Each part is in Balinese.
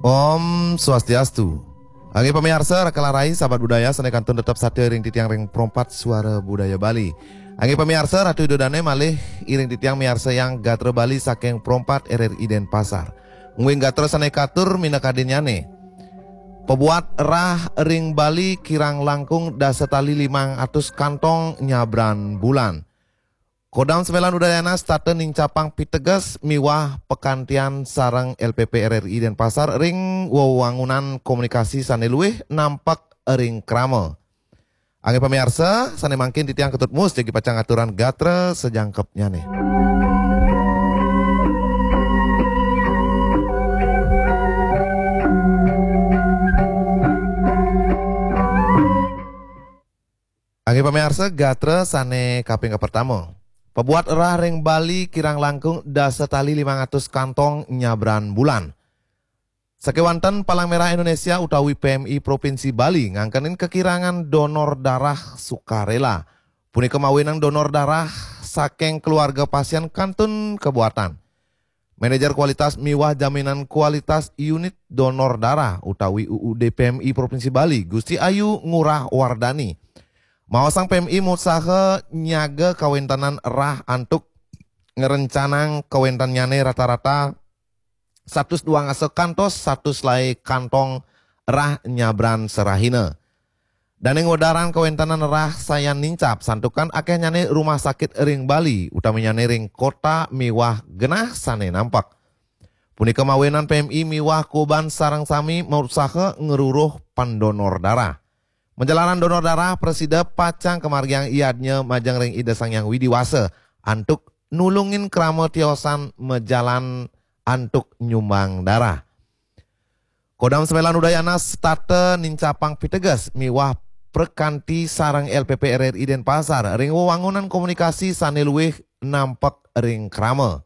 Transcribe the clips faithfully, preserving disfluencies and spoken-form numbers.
Om Swastiastu. Anggi pamiarsa, raka rai, sahabat budaya, sané kantun tetep satia iring titiang ring Pro empat Suara Budaya Bali. Anggi pamiarsa, Ratu Ida Dané malih iring titiang miarsayang gatra Bali saking Pro empat R R I Denpasar. Mungguing gatra sané katur minakadinnyané. Pabuat rah ring Bali kirang langkung dasa tali limang atus kantong nyabran bulan. Kodam Semelan Udayana setata nincapang piteges miwah pakantian sareng L P P R R I Denpasar ring wewangunan komunikasi sané luwih nampek ring krama. Anggi pamiarsa, sané mangkin titiang Ketut Mus jagi pacang ngaturang gatra sajangkepnyané. Anggi pamiarsa, gatra sané kaping kapertama. Pabuat rah ring Bali kirang langkung dasa tali limang atus kantong nyabran bulan. Sakéwanten Palang Merah Indonesia utawi P M I Provinsi Bali ngangkenin kakirangan donor darah sukarela. Punika mawinan donor darah saking keluarga pasien kantun kabuatan. Manajer Kualitas miwah Jaminan Kualitas Unit Donor Darah utawi U U D P M I Provinsi Bali, Gusti Ayu Ngurah Wardani, maosang P M I mautsaha nyaga kawéntenan rah antuk ngrencanang kawéntennyané rata-rata satus duang dasa kantos satus selaé kantong rah nyabran sarahina. Dané ngwedarang kawéntenan rah sayan nincap, santukan akéhnyané rumah sakit ring Bali, utaminyané ring kota miwah genah sané nampek. Punika mawinan P M I miwah Koban sareng sami mautsaha ngruruh pendonor darah. Majalaran donor darah prasida pacang kamargiang yadnya majeng ring Ida Sang Hyang Widi Wasa antuk nulungin krama tiosan majalan antuk nyumbang darah. Kodam Semelan Udayana setata nincapang piteges miwah prakanti sareng L P P R R I Denpasar ring wewangunan komunikasi sané luwih nampek ring krama.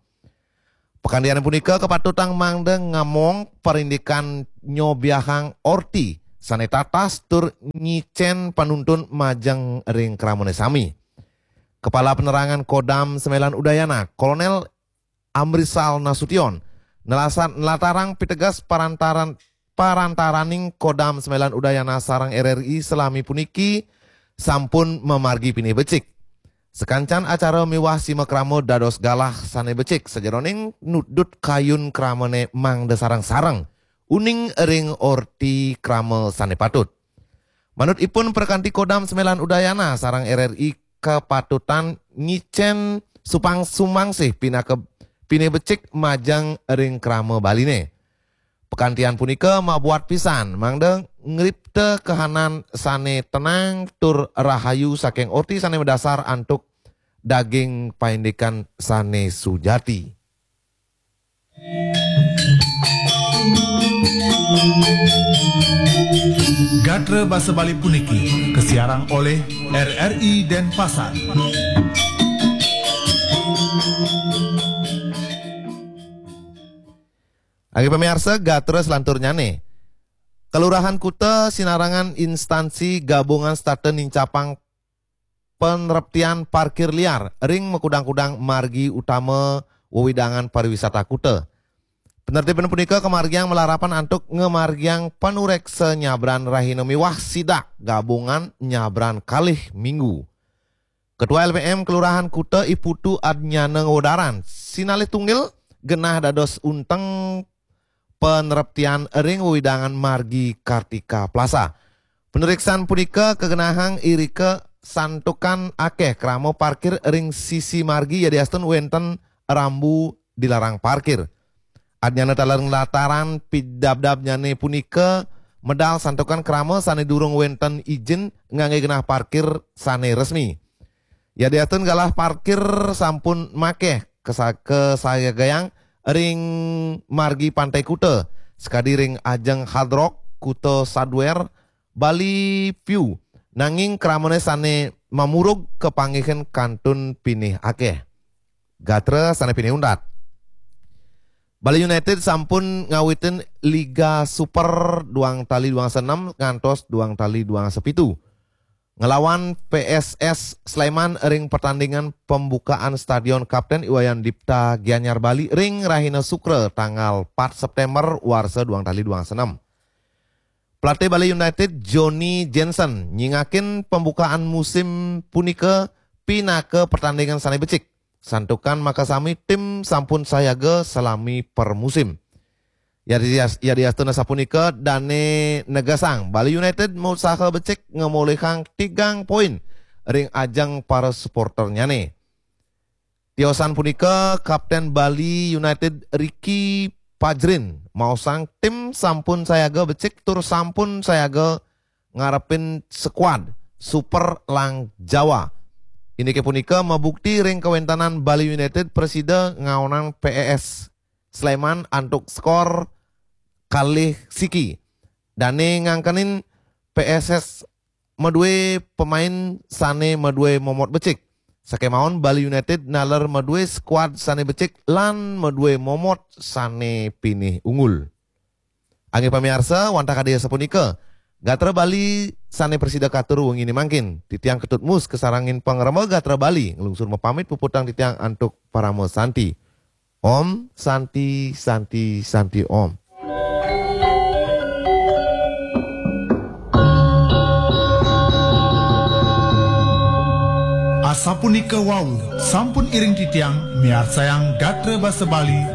Pakantian punika kapatutang mangda ngamong parindikan nyobiahang orti sané tatas tur nyicén panuntun majeng ring kramané sami. Kepala Penerangan Kodam Semelan Udayana, Kolonel Amrisal Nasution, nelasan nlatarang piteges parantaran parantaraning Kodam Semelan Udayana sareng R R I salami puniki sampun mamargi pinih becik. Sakancan acara miwah simakrama dados galah sané becik sajeroning nudut kayun kramané mangda sareng-sareng uning ring orti krama sané patut. Manut ipun, prakanti Kodam Semelan Udayana sareng R R I kapatutang nyicén supang sumangsih pinaka pinih becik majeng ring krama Baliné. Pakantian punika mabuat pisan mangda ngripta kahanan sané tenang tur rahayu saking orti sané madasar antuk daging paindikan sané sujati. Gatra basa Bali puniki kasiarang olih R R I Denpasar. Anggi pamiarsa, gatra selanturnyané. Kelurahan Kuta sinarengan instansi gabungan setata nincapang panreptian parkir liar ring makudang-kudang margi utama wewidangan pariwisata Kuta. Penertiban punika kamargiang malarapan antuk ngamargiang panuréksa nyabran rahina miwah sidak gabungan nyabran kalih minggu. Ketua L P M Kelurahan Kuta I Putu Adnyana ngwedarang, sinalih tunggil genah dados unteng panreptian ring wewidangan margi Kartika Plaza. Panuréksan punika kagenahang irika santukan akéh krama parkir ring sisi margi yadiastun wénten rambu dilarang parkir. Adnyana taler nlatarang pidabdabnyané punika medal santukan krama sané durung wénten ijin nganggé genah parkir sané resmi. Yadiastun galah parkir sampun makéh kesa-, kasayagayang ring margi Pantai Kuta, sakadi ring ajeng Hard Rock, Kuta Sadware, Bali View, nanging kramané sané mamurug kapanggihin kantun pinih akéh. Gatra sané pinih untat. Bali United sampun ngawitin Liga Super duang tali duang dasa enem ngantos duang tali duang dasa pitu. ngelawan P S S Sleman ring pertandingan pembukaan Stadion Kapten Iwayan Dipta Gianyar Bali ring rahina Sukra tanggal empat September warsa duang tali duang senem. Pelatih Bali United Johnny Jensen nyingakin pembukaan musim punika pinaka pertandingan sane becik. Santukan makasami tim sampun sayaga salami per musim. Yadias- Yadiastuna sapunika dane negasang Bali United mausaha becik ngamolihang tigang poin ring ajeng para supporternyane. Tiosan punika Kapten Bali United Ricky Pajrin maosang tim sampun sayaga becik tur sampun sayaga ngarepin skuad Super Lang Jawa. Indike punika mabukti ring kawentanan Bali United prasida ngaonang P S S Sleman antuk skor kalih siki. Dane ngangkenin P S S madue pemain sane madue momot becik. Sakemawon Bali United naler madue skuad sane becik lan madue momot sane pinih unggul. Angge pamiarsa, wantah kadi asapunika, gatra Bali sane prasida katur wengine mangkin. Titiang Ketut Mus kasarengin pangremba gatra Bali nglungsur mapamit puputang titiang antuk parama santi. Om Santi, Santi, Santi Om. Asapunika wau, sampun iring titiang miarsayang gatra basa Bali